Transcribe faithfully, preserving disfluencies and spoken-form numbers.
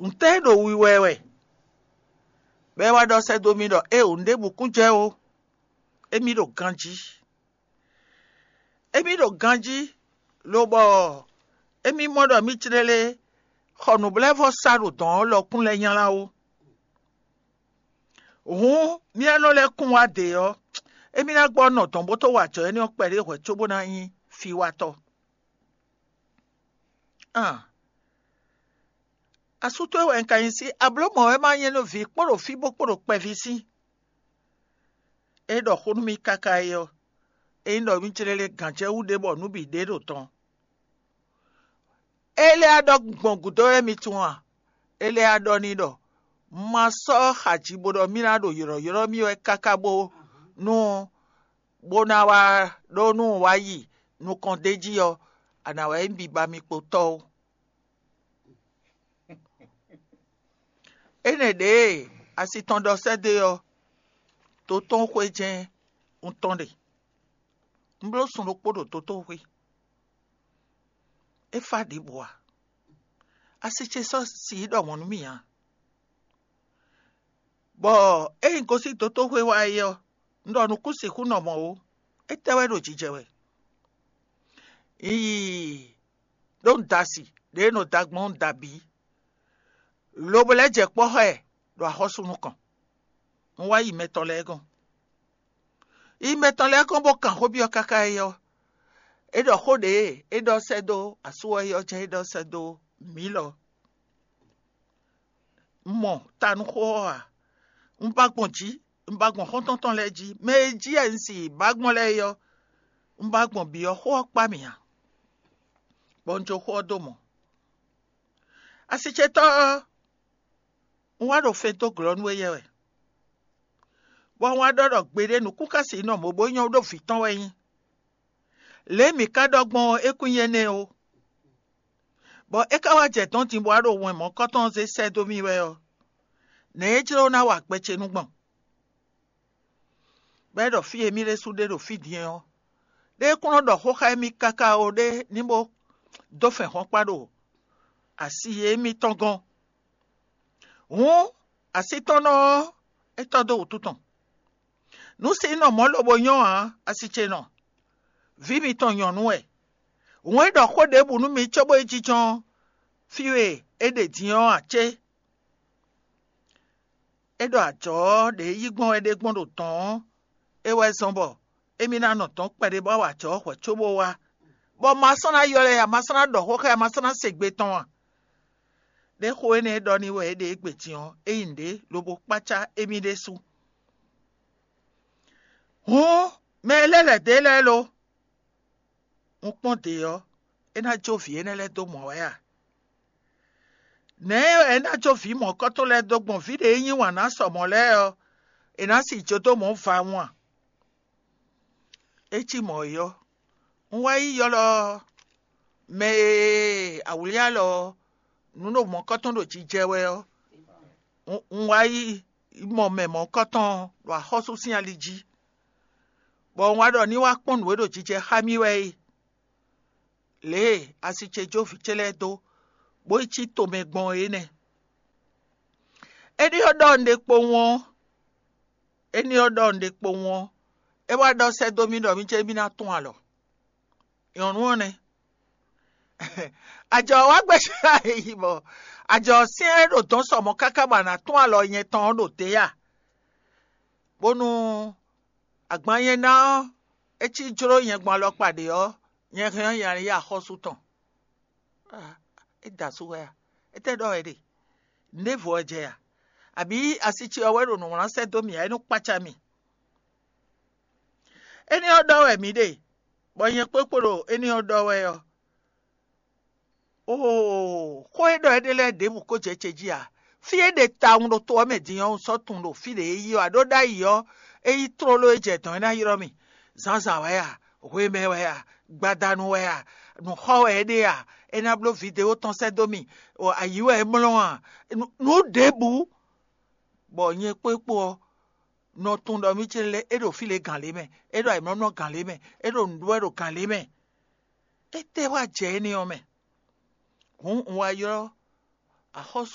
Ntɛ́ ɖo wiwa ɛ wɛ, bɔ é wá ɖɔ sɛ́ dó mì ɖɔ éeǒ, un ɖěbǔ kún jɛ ó, émí ɖo ganjí. Émí ɖo ganjí, lobɔ émí mɔ ɖɔ mì clélé xɔ nǔbláwǔvɔ́sa ɖo dɔ̌n ɔ́ lɔ kún lɛ́ nylá ó. Hǔn mì e nɔ lɛ́ kún wá dě ɔ́, émí ná gbɔ nɔ dɔ̌n bó tó wa ajɔ énɛ́ ɔ́ kpɛɖé hwɛ̌ cóbó ná nyí fiwatɔ́. Aan, asú towe wɛ un ka nyí sí, ablǒ mɔ̌ wɛ ma nyɛ nú vǐ kpó ɖo fí bó kpó ɖo kpɛví sín. É ɖɔ xó nú mì káká é ɔ́, é nyí ɖɔ mì clélé gǎn jɛ wú ɖé bɔ nǔ bǐ ɖe ɖo tɔn. É lɛ́ wá ɖɔ gbɔn gǔdo wɛ mi tunwun a? É lɛ́ wá ɖɔ n'i ɖɔ: "Un ma sɔ́ xaji bó ɖɔ mì ná ɖo ylɔ̌ylɔ́ mì wɛ káká bó nú bó ná wá ɖó nú un wá yi nukɔn d'é jí ɔ́, a nǎ wá nyí biba mi kpo tɔ́ ó." Énɛ́ ɖě e asi tɔn ɖɔ sɛ́ dó e ɔ́, dotóxwé jɛ́n un tɔ́n ɖe. Un bló sun ɖokpó ɖo dotóxwé. É fá ɖěbǔ ǎ. Asi ce sɔ́ si yi ɖɔ mɔ̌ nú mì ǎ. Bɔ ényí gosín dotóxwé wá é ɔ́, un ɖɔ nǔkún sixú nɔ mɔ̌ ó. Étɛ́ wɛ ɖo jijɛ wɛ? Un yi ɖó un da asi ɖě e nɔ da gbɔn ɔ́, un da bǐ, lobo lɛ́ jɛ kpɔ́ xá ɛ ɖo axɔ́sú nukɔn. Un wá yi mɛ tɔn lɛ́ɛ gɔ́n. Yi mɛ tɔn lɛ́ɛ gɔ́n bó kan xó byɔ́ káká é ɔ́, é ɖɔ xó ɖě e é ɖɔ sɛ́ dó asú ɔ́ é ɔ́ jɛ́n é ɖɔ sɛ́ dó mǐ lɔ. Un mɔ ta nú xó ɔ́ ǎ. Un ba gbɔn jǐ, un ba gbɔn xɔ́ntɔn tɔn lɛ́ɛ jí. Mɛ e jí wɛ un si ba gbɔn lɛ́ɛ é ɔ́, un ba gbɔn bǐ ɔ́, xó ɔ́ kpá mì ǎ, bɔ un jó xó ɔ́ dó mɔ. Asicetɔ́ ɔ́, un wá ɖo fɛn dó glɔ́ nú éyɛ́ wɛ, bɔ un wá ɖɔ ɖɔ gbeɖé nǔkún ka sixú nɔ mɔ̌ bó nyɔ́ ɖó vǐ tɔn wɛ nyí. Lě e mǐ ka ɖɔ gbɔn ɔ́, é kún nyí énɛ́ ó. Bɔ é ka wá jɛ dɔ̌n din bó wá ɖo wɛn mɔ̌kɔ́tɔn ɔ́ zé sɛ́ dó mì wɛ ɔ́, nɛ̌ é jló ná wa gbɛ ce nú gbɔn? Bɔ é ɖɔ fí e mì ɖésú ɖe ɖo fí din ɔ́, ɖé kún nɔ ɖɔ xó xá émí káká ó ɖé ní bó dó fɛn hɔn kpá ɖo asi e émítɔn gɔ́n. Hǔn asítɔ́nnɔ ɔ́, é tɔ́ dó wǔtu tɔn. Nǔ si nɔ mɔ̌ lobo nyɔ́ ǎ, asi ce nɔ. Vǐ mitɔn nyɔ̌nu wɛ. Hǔn é ɖɔ xó ɖěbǔ nú mi cóbó yi jínjɔ́n fí e é ɖe din ɔ́ ǎ cé? É ɖɔ ajɔ̌ ɔ́ ɖě yí gbɔn wɛ ɖé gbɔn ɖo dɔ̌n ɔ́, é wɛ zɔ́n bɔ émí ná nɔ dɔ̌n kpɛɖé bó wá wa ajɔ̌ ɔ́ hwɛ̌ cóbó wá, bɔ ma sɔ́ ná ylɔ́ ɛ ǎ, ma sɔ́ ná ɖɔ xó xá ɛ, ma sɔ́ ná se gbe tɔn ǎ. Ɖé xó énɛ́ e ɖɔ n'i wɛ é ɖe égbé din ɔ́, é nyí nǔɖé lobo kpácá émí ɖésú. Hǔn mɛ e lɛ́ lɛ̌ dó e lɛ́ɛ lo? Un kpɔ́n dě ɔ́, é ná jó vǐ énɛ́ lɛ́ɛ dó mɔ̌ wɛ a? Nɛ̌ wɛ é ná jó vǐ mɔ̌kɔ́tɔn lɛ́ɛ dó gbɔn vǐ ɖě e yí wǎn ná sɔ mɔ̌ lɛ́ɛ ɔ́, è nǎ si jó dó mɔ̌ vawun a? É cí mɔ̌ é ɔ́, un wá yi ylɔ́ mɛ e awlí alɔ ɔ́, nǔ ɖo mɔ̌kɔ́tɔn ɖo jijɛ wɛ ɔ́, un wá yi mɔ mɛ mɔ̌kɔ́tɔn ɖo axɔ́sú sín ali jí, bɔ un wá ɖɔ ní wá kpɔ́n nǔ e ɖo jijɛ xá mì wɛ é. Lě e asi ce jó vǐ ce lɛ́ɛ dó, bó yi cí tomɛ gbɔn é nɛ́. Éní ɔ́ ɖɔ un ɖe kpowun ɔ́, éní ɔ́ ɖɔ un ɖe kpowun ɔ́, é wá ɖɔ sɛ́ dó mì ɖɔ mì cé mì ná tún alɔ. Nyɔ̌nu ɔ́ nɛ́. Ajɔ ɔ́ wá gbɛ́ yi bɔ ajɔ ɔ́ syɛ́n ɖo dɔ̌n sɔ mɔ̌ káká bɔ a nǎ tún alɔ nyɛ tɔn ɔ́ ɖo dě a? Bónú agban nyɛ ná ɔ́, é cí jló nyɛ gbɔn alɔkpa ɖě ɔ́, nyɛ hɛn ɔ́, nyɛ ná yi axɔ́sú tɔn. É da asú wɛ a? Étɛ́ ɖɔ wɛ ɖe? Nǔɖévo wɛ jɛ a? Abǐ asi ce ɔ́ wɛ ɖo nǔ wlán sɛ́ dó mì ǎ, é nɔ kpácá mì? Éní ɔ́ ɖɔ wɛ mǐ ɖe, bɔ nyɛ kpókpo ɖo éní ɔ́ ɖɔ wɛ ɔ́. Oo, xó e ɖɔ é ɖe lɛ́ɛ ɖěbǔ ko jɛ ce jí ǎ. Fí e ɖe tawun ɖo to ɔ́ mɛ din ɔ́, un sɔ́ tunwun ɖo fí ɖě é yi ɔ́, a ɖó ɖ'ayǐ ɔ́, é yí tlóló é jɛ dɔ̌n é ná ylɔ́ mì. Zǎnzǎn wɛ a? Hwemɛ wɛ a? Gbadanu wɛ a? Nǔxɔ wɛ é ɖe a? É ná bló vidéo tɔn sɛ́ dó mì. Ayǐ wɛ é mlɔ́ a? Nǔ ɖěbǔ, bɔ nyɛ kpókpo ɔ́, nɔ tunwun ɖɔ mì ce lɛ́ɛ é ɖo fí lě gǎn lě mɛ, é ɖo ayǐmlɔ́mlɔ́ gǎn lě mɛ, é ɖo nǔɖuɖu wɛ ɖo gǎn lě mɛ. Étɛ́ wá jɛ énɛ́ ɔ́ mɛ? Hǔn un wá ylɔ́ axɔ́sú